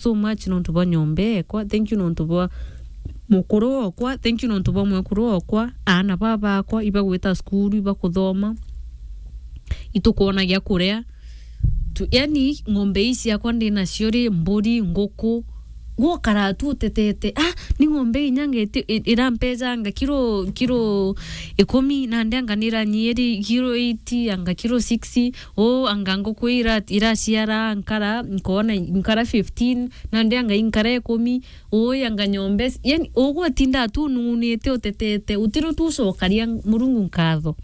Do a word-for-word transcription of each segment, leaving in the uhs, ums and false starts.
so much nontu bwa nyomba ekwa, thank you nontu bwa mukuru okwa, thank you nontu bwa mwekuru okwa, aana baba akwa ibagwita cukuru, ibakuthoma, itukwona gia kuria. Tu, yani, ng'ombe ii ciakwa ndi nacio ri, mburi, nguku, gukara tu utetete. Ah, ni ng'ombe inya ngeti, i-, irampejanga kiro, kiro ikumi, nandi anga niranyiri kiro eight, anga kiro six, o, anga nguku ira-, iraciara, nkara, nkona, nkara fifteen, nandi anga inkara ikumi, o, anga nyombe, yani, ugwatinda tu unung'unite utetete, utiro tu ucokaria Murungu nkatho.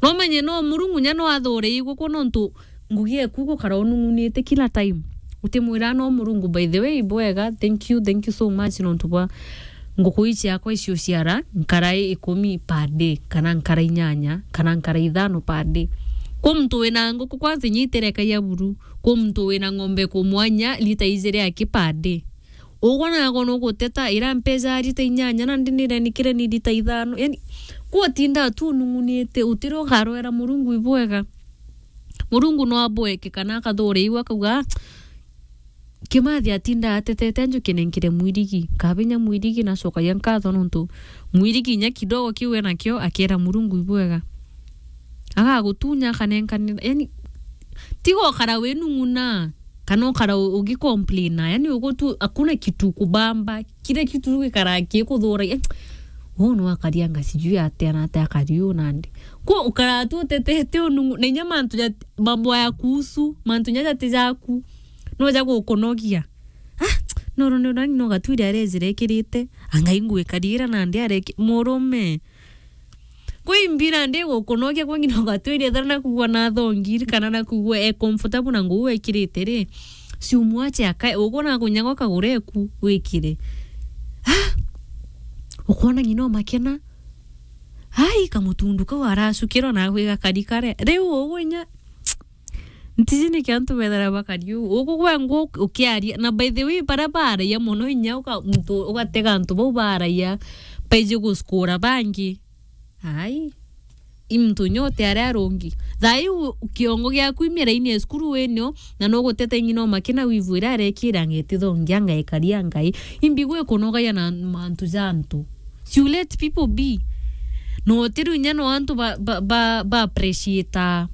No menye no Murungu nya no athure igukwa nontu ngugi eku gukara unung'unite kila time. Utimwira no Murungu, by the way, bwega, thank you, thank you so much nontu bwa nguku ii ciakwa icio ciara nkara ikumi per day, kana nkara inyanya, kana nkara ithano per day. Kwi muntu wina nguku kwanza inya itirekagia buru, kwi muntu wina ng'ombe ku mwanya lita ijiri aki per day. Ugwa nago nuguteta, ira mpeja rita inyanya, nandi nirenikire ni rita ithano. Yani, kwotinda tu unung'unite, utire ukarwera Murungu ibwega. Murungu no abweke kana akathure iu akauga, "Ah, Kimathi atinda atetete anju kinenkire mwirigi, kabinya mwirigi nacokagia nkatho nontu mwirigi inya kidogo kiu enakio akera Murungu ibwega." Agagutunya akanenkanira, yani, tiga ukara winung'una. Kana ukara u-, ugicomplaina, yani ugutu, hakuna kitu kubamba, kila kitu gikara kikuthura. Eh, uu no akarianga sijui atia na atia akari uu nandi. Kwo ukara tu utetete unungu, na inya mantu ja, mambo ya kuhusu, mantu nya jati jaku, no ja gukunogia. Ah, no, no, no, no, no gatwire arejire ekirite, anga ingwikariira nandi areki, murume. Kwi mbira ndi gukunogia kwangi no gatwire thana na kugwa na thongi, kana na kugwa e comfortable na nguu ekirite ri. Si umwache akae, ugwe na kunyaga ukagure eku wikire. Ah! Ukwona ng'ina umakena. Ai, kamutundu kau aracukirwa na gwi gakari kare. Riu ugwe inya Ntiji niki antu bethira bakari uu. Ugu gwe ngu ukiaria. Na by the way, baria baaragia mono inya uka-, muntu ugatega antu bau baaragia baiji guskura bangi. Ai. I muntu inya utiari arungi. Thaa iu kiongo giaku imiraini ya cukuru winio, na nugutete ng'ina umakina wivu iria arekira ng'eti thongia ngaikaria ngai. Imbi gwe kunogaia na mantu ja antu. You let people be. No utiru inya no antu ba, ba, ba, ba appreciate.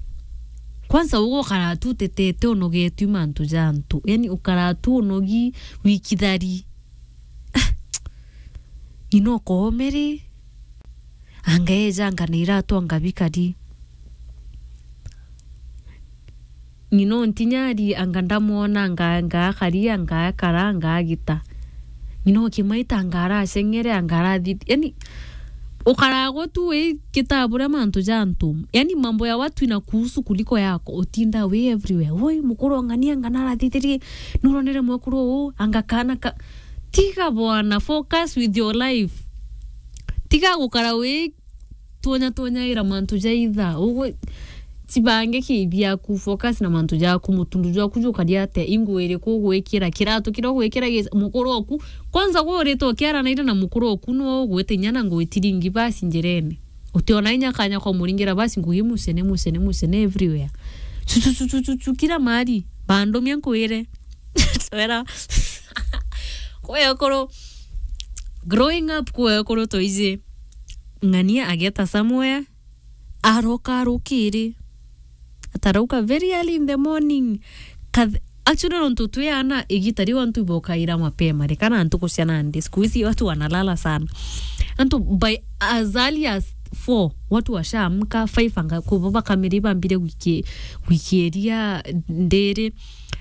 Kwanza ugo ukara tu utetete unogetwi mantu ja antu. Yani ukara tu unogi wikithari. Ah, ng'ina ukoome ri. Anga eja anga na iratu anga bikari. Ng'ina untinyari anga ndamwona anga, anga akari, anga akara, anga agita. Ng'ina ukimaita anga araceng'ere, anga arathi-, yani, ukaragwa tu wi kitabure mantu ja antu. Yani, mambo ya watu inakuhusu kuliko yako. Utinda wi everywhere. Woi, mukuru ong'ania anga narathithirie, nuronere mwekuru uu, anga kana ka-, tiga bwana, focus with your life. Tiga gukara wi twonya twonyaira mantu ja itha. Ugwe, cibange ki biaku, focus na mantu jaku, mutundu jwaku jukari atia, inguo iriku ugwikira, kiratu kiria ugwikira gi-, mukuru oku. Kwanza gwe urite ukiaranaira na mukuru oku, no ugwite inya na ngugi tiringi basi njirene. Utiona inya kanya kwa muringira basi ngugi mucene, mucene, mucene everywhere. Chu, chu, chu, chu, chu, chu, kila mahali. Bandumia nkwire. Twera. Kwe ukuru, growing up kwe ukuru toiji. Ng'ania ageta somewhere, aroka arukiri. Atarauka very early in the morning. Kath-, actually, nontu twi ana, igita riu antu ibokaira mapema, reka na ntuku cia nandi. Siku hizi watu wanalala sana. Antu by as early as four, watu washaamka, five anga, kubo bakamiri bambire gwiki-, gwikiria ndiri.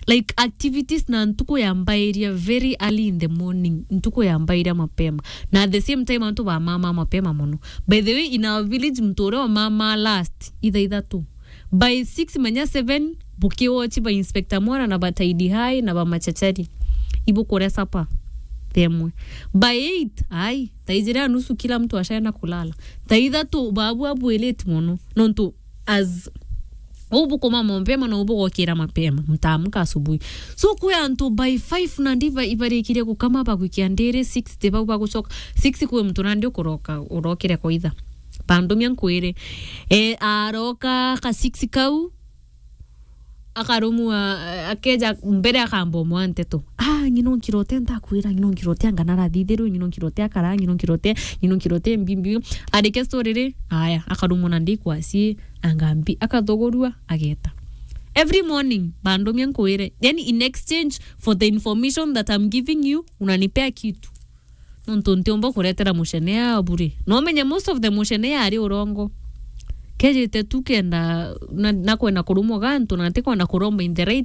Like, activities na ntuku yambairia very early in the morning, ntuku yambairia mapema. Na at the same time, antu bamama mapema mono. By the way, in our village, muntu uria umama last, itha ithatu. By six manya seven, bukiwochi ba Inspector Mwana na ba Tidy High na ba Machachari. Ibukuria supper. Themwe. By eight, ai, thaa ijiri na nusu kila mtu ashaenda kulala. Thaa ithatu, babu abu late mono. Nontu as uu bukoma mapema na uu bugokira mapema, mtaamka asubuhi. So, kwi antu by five nandi iba-, ibarikirie gukama bagwikia ndiri six, ti bau bagucoka. Six kwi muntu nandi ukuroka, urokire kwa itha. Bandumia nkwire. E, aroka ka six kau, Akarumwa, eh, akeja mbere akamba umwa nteto. Ah, ng'ino nkirote ntakwira, ng'ino nkirote anga narathithirwe, ng'ino nkirote akara, ng'ino nkirote, ng'ino nkirote mbimbi. Arike story ri, aya, akarumwa na ndikwasi, angambi, akathogorua, ageta. Every morning, bandumia nkwire. Yani, in exchange for the information that I'm giving you, unanipea kitu. Nontu ntiumba kuretera mucenea bure. No menye most of the mucenea ari urongo. Kejite tu kenda na, na kwenda kurumwa gantu, na ntikwenda kuromba in the right